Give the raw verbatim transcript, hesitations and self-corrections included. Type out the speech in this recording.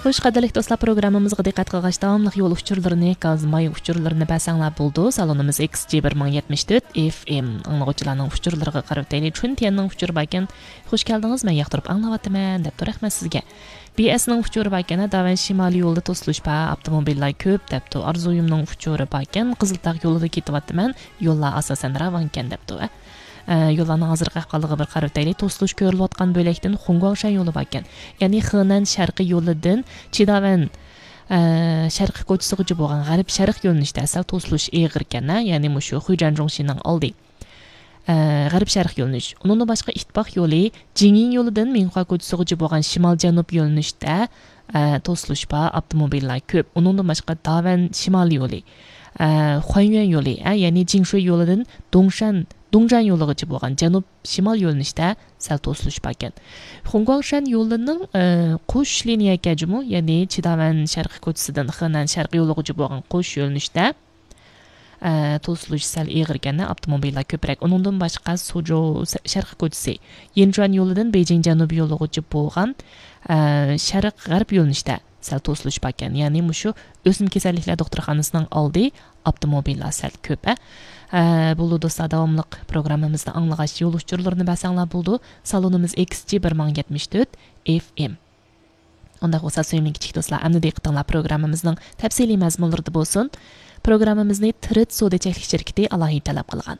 خوش، قەدىرلىك دوستلار، پروگراممىمىزغا دىققەت قىلغاچ، داۋاملىق يول ئۇچۇرلىرىنى، گاز ماي ئۇچۇرلىرىنى بەرسەڭلار بولىدۇ. سالونىمىز ئېكس جى بىر مىڭ يەتمىش تۆت ئېف ئېم. ئاڭلىغۇچىلارنىڭ ئۇچۇرلىرىغا قارىۋېتەيلى. چۈن تيەننىڭ ئۇچۇرى باركەن. خوش كەلدىڭىز، مەن ياقتۇرۇپ ئاڭلاۋاتىمەن، دەپتۇ. رەھمەت سىزگە. بى ئېسنىڭ ئۇچۇرى باركەن، داۋەن شىمالىي يولىدا توسۇلۇش بار، ئاپتوموبىللار كۆپ، دەپتۇ. ئارزۇيۇمنىڭ ئۇچۇرى باركەن، قىزىلتاغ يولىدا كېتىۋاتىمەن، يوللار ئاساسەن راۋانكەن، دەپتۇ. ئە، يوللارنىڭ ھازىرقى ئەھۋالىغا بىر قارىۋېتەيلى. توسۇلۇش كۆرۈلۈۋاتقان بۆلەكتىن خۇڭگۇاڭشەن يولى باركەن. يەنى خېنەن شەرقىي يولىدىن چىداۋەن، ئە، شەرقىي كوچىسىغىچە بولغان غەرب شەرق يۆنىلىشتە سەل توسۇلۇش ئېغىركەن، ھە؟ يەنى مۇشۇ خۇيجەن جۇڭشىنىڭ ئالدى. ئە، غەرب شەرق يۆنىلىش. ئۇنىڭدىن باشقا ئىتتىپاق يولى جىڭيىڭ يولىدىن مىنخۇا كوچىسىغىچە بولغان شىمال جەنۇب يۆنىلىشتە، ئە، توسۇلۇش بار، ئاپتوموبىللار كۆپ. ئۇنىڭدىن باشقا داۋەن شىمال يولى، ئە، خۇەنيۈەن يولى، ئە، يەنى جىڭشۇي يولىدىن دۇڭشەن، دۇڭجان يولىغىچە بولغان جەنۇب شىمال يۆنىلىشتە سەل توسۇلۇش باركەن. خۇڭگۇاڭشەن يولىنىڭ، ئە، قوش لىنىيە كەجىمۇ، يەنى چىداۋەن شەرقىي كوچىسىدىن خېنەن شەرقىي يولىغىچە بولغان قوش يۆنىلىشتە، ئە، توسۇلۇش سەل ئېغىركەن، ئاپتوموبىللار كۆپرەك. ئۇنىڭدىن باشقا سۇجو سە-، شەرقىي كوچىسى، يىنجۇەن يولىدىن بېيجىڭ جەنۇبىي يولىغىچە بولغان، ئە، شەرق غەرب يۆنىلىشتە سەل توسۇلۇش باركەن. يەنى مۇشۇ ئۆسمە كېسەللىكلەر دوختۇرخانىسىنىڭ ئالدى ئاپتوموبىللار سەل كۆپ، ئە. ئە، بولىدۇ دوستلار، داۋاملىق پروگراممىمىزنى ئاڭلىغاچ يول ئۇچۇرلىرىنى بەرسەڭلار بولىدۇ. سالونىمىز ئېكس جى بىر مىڭ يەتمىش تۆت ئېف ئېم. ئۇنداق بولسا، سۆيۈملۈك كىچىك دوستلار، ئەمدى دىققىتىڭلار پروگراممىمىزنىڭ تەپسىلىي مەزمۇنلىرىدا بولسۇن. پروگراممىمىزنى تىرىت سودا چەكلىك شىركىتى ئالاھىدە تەلەپ قىلغان.